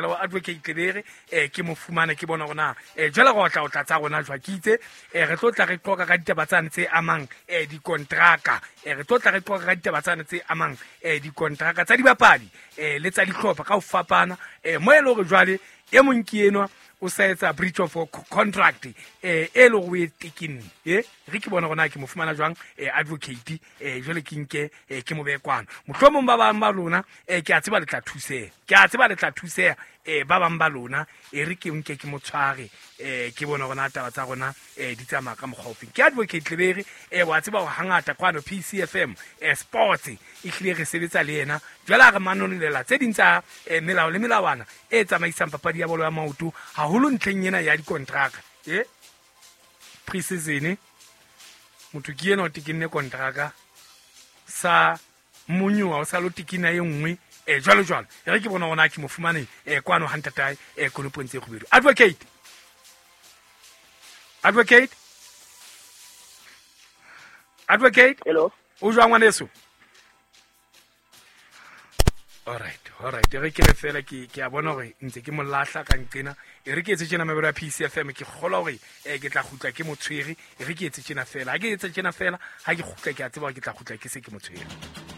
Wa advocate Lebere, ke mo fumane, ke bona hore na jwale re otla otla tsa rona jwa ke itse. Re tlo tla re qoqa ka ditaba tsane tse amang dikontraka. Re tlo tla re qoqa ka ditaba tsane tse amang dikontraka tsa dibapadi le tsa dihlopha ka ho fapana. Mo e le hore jwale e mong ke enwa o sa etsa breach of contract e le hore o e tekenne. Re ke bona hore na ke mo fumana jwang advocate, jwale ke nke ke mo behe kwano. Mohlomong ba bang ba lona, ke a tseba le tla thuseha, ke a tseba le tla thuseha, ba bang ba lona. E re ke nke ke mo tshware, ke bone hore na taba tsa rona di tsamaya ka mokgwa ofeng. Ke advocate Lebere, wa tseba hore hangata kwano PCFM sports e hlile re sebetsa le yena. Jwale ha re manolela tse ding tsa melao le melawana e tsamaisang papadi ya bolo ya maoto, haholo ntlheng ena ya dikontraka. Pre-season motho ke ena o tekenne kontraka sa monyoa, o sa lo tekena e nngwe, jwalo jwalo. E re ke bona hore na ke mo fumane kwano ha ntatae, konopong tse kgubedu. Advocate, advocate, advocate. Hello. O jwang, ngwaneso? Alright, alright, e re ke re fela ke a bona hore ntse ke mo lahla ka nqena. E re ke etse tjena, mabelo ya PCFM, ke kgolwa hore ke tla kgutla ke mo tshwere. E re ke etse tjena fela, ha ke etse tjena fela, ha ke kgutla ke a tseba hore ke tla kgutla ke se ke mo tshwere.